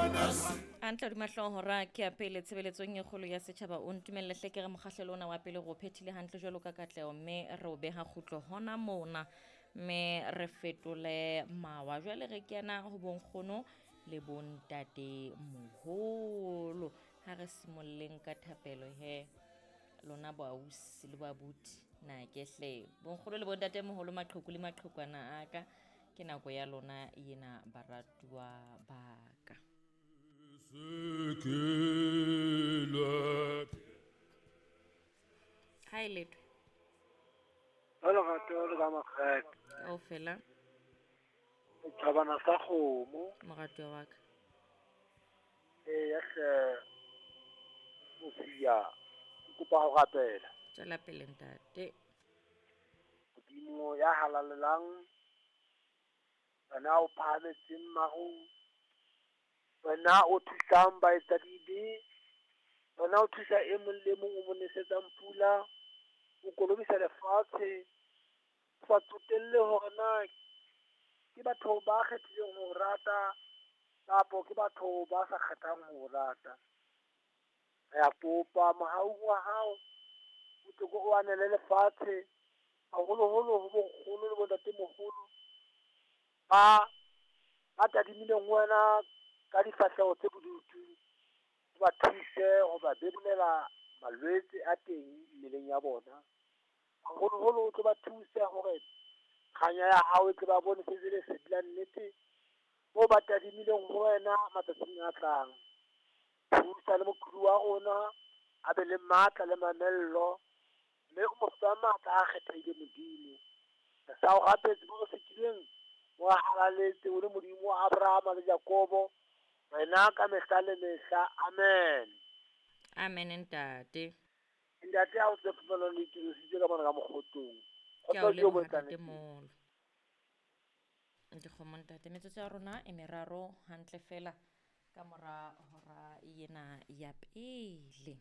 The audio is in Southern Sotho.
Hantle hodima hlooho hora ke ya pele tshebeletsong e kgolo ya setjhaba. O ntumelle hle ke re mokgahlelo ona wa pele re o phethile hantle jwalo ka katleho, mme re o beha kgutlo hona mona, mme re fetole mawa. Jwale re kena ho bonkgono le bontate moholo. Ha re simolleng ka thapelo he, lona boausi le boabuti, na ke hle bonkgono le bontate moholo, maqheku le maqhekwana a ka, ke nako ya lona ena baratuwa ba ka. Ha e letho. Ba lerato le ka makgethe. Kaofela. Setjhabana sa kgomo. Moratuwa wa ka. Eya hle, Mosia, ke kopa ho rapela. Tswela pele ntate. Modimo ya halalelang, wena o phahametseng marung, wena o thusang baetsadibe, wena o thusa e mong le mong o mo nesetsang pula, o kolobisa lefatshe, o sa tsotelle hore na ke batho ba kgethileng ho rata kapo ke batho ba sa kgethang ho rata. Re a kopa mohaung wa hao, o tle o anele lefatshe, haholoholo ho bonkgono le bontatemoholo ba tadimileng ho wena ka difahleho tse bodutu, o ba thuse ho ba bebolela malwetse a teng mmeleng ya bona. Haholoholo o tlo ba thuse hore kganya ya hao e tle ba bone se lesedi la nnete moo ba tadimileng ho wena matsatsing a tlang. Thusa le moqhudu wa rona a be le matla le mamello, mme o mo fe matla a kgethehileng Modimo. Re sa o rapetse mo re fetileng, o halaletse o le Modimo wa Abrahama le Jakobo, wena ka mehla le mehla. Amen. Amen ntate. Ntate ha o tse fumana le itirositse ka mona ka mokgotong. Ke a o leboha ntate moholo. Dikgomo ntate, metsotso ya rona e meraro hantle fela ka mora hora ena ya pele.